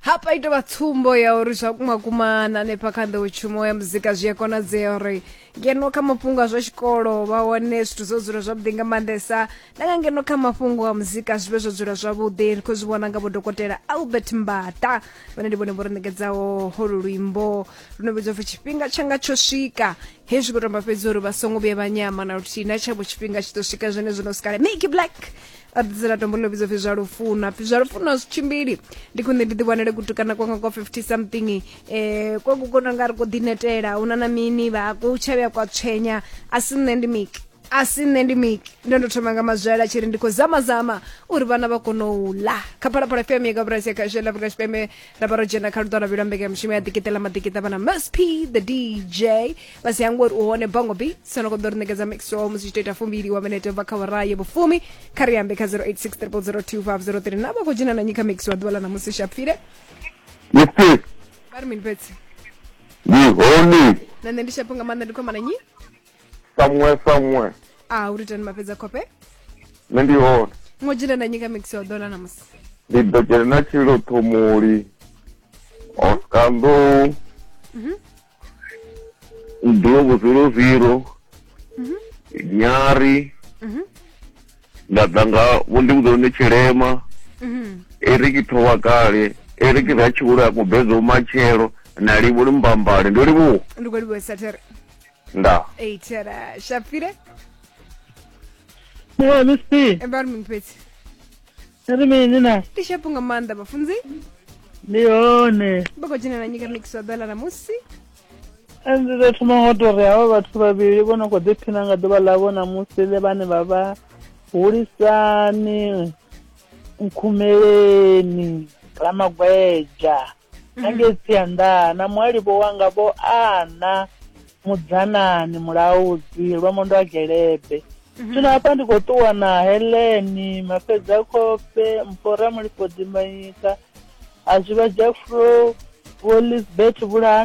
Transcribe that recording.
Hafha i tovha tsumbo ya uri zwa kuma kuma na hanefha kha nḓowetshumo ya muzika zwi a konadzea uri ngeno kha mafhungo a zwa tshikolo vha wane zwithu zwo dzula zwavhuḓi nga maanḓesa, na nga ngeno kha mafhungo a muzika zwi vhe zwo dzula zwavhuḓi. Ri khou zwi vhona nga vho Dokotela Albert Mbata, vhane ndi vhone vho ri ṋekedzaho holu luimbo lu no vhidzwa pfi Tshifhinga Tshanga Tsho Swika. Hezwi khou tamba fhedzi uri vha songo vhuya vha nyama na luthihi, na tshavho tshifhinga tshi ḓo swika zwenezwo no sikale. Mickey Black a ḓisela tombo ḽo vhidzwa pfi Zwa Lufuno. Pfi zwa lufuno a zwi tshimbili, ndi khwine ndi ḓiwanele kutukana kwanga kwa 50 something, kwa ku kona nga ri ko ḓinetela huna na mini vha ku tsha vhuya kwa tswenya. A si nṋe ndi Miki, a si nṋe ndi Miki, ndo thoma nga mazwela tshi ri ndi khou zama zama uri vhana vha kone u ḽa. Kha Phalaphala FM ya Gabrasi ya Khasho ya Afrika Tshipembe, ra vha ro dzhena kha luṱo lwa mbekanyamushumo ya ḓikiṱela maḓikiṱa vhana Msp the DJ vha si hangwe uri u hone Bongo B sono khou ḓo ri ṋekedza mix wa musi tshi to ita fumbili wa minete ubva kha awara ya vhufumi. Kha ri ambe kha 086 0002503 na vha khou dzhena na nyi kha mix wa ḓuvha ḽa ṋamusi Shapfile. Yes, vha ri mini fhedzi? Ndi hone. Na nṋe ndi shapo nga maanḓa, ndi khou amba na nyi? Samuel, Samuel. A uri tani mafhedza khofhe. Nṋe ndi hone. Ngo dzhena na nyi kha mix wa ḓuvha ḽa ṋamusi? Ndi ḓo dzhena na Tshililo Ṱhomoli, Oscar Nḓou, Ndlovu 00, Nyari, nda ḓa nga Vho Ndivhudzo Tshilema, Eric Thovhakale, Eric Ratshivhula Mubezo Matshelo na Livholi Mbambale. Ndo livhuwa. Ndi khou livhuwesa there. Nda. Ei there Shapfile. Ee, Miss P. Vha ri mini fhedzi? Ri mini na? Ndi shapo nga maanḓa vhafunzi. Ndi hone. Vha khou dzhena na nyika mix wa ḓuvha ḽa ṋamusi? Ndi ḓo thoma ngo tou ri havha vhathu vhavhili vho no khou ḓiphina nga ḓuvha ḽavho ṋamusi ḽe vhane vha vha Hulisani Nkhumeleni Ramagwedzha na ngei Tsianda na muhalivho wanga vho Ana Mudzanani Mulaudzi Lwamondo a Gelebe. Zwino hafha ndi khou ṱuwa na Heleni Mafhedza Khofhe Mpho Ramulifho Dimbanyika a Zwivha Jafro Vho Lisbeth Vhulahani.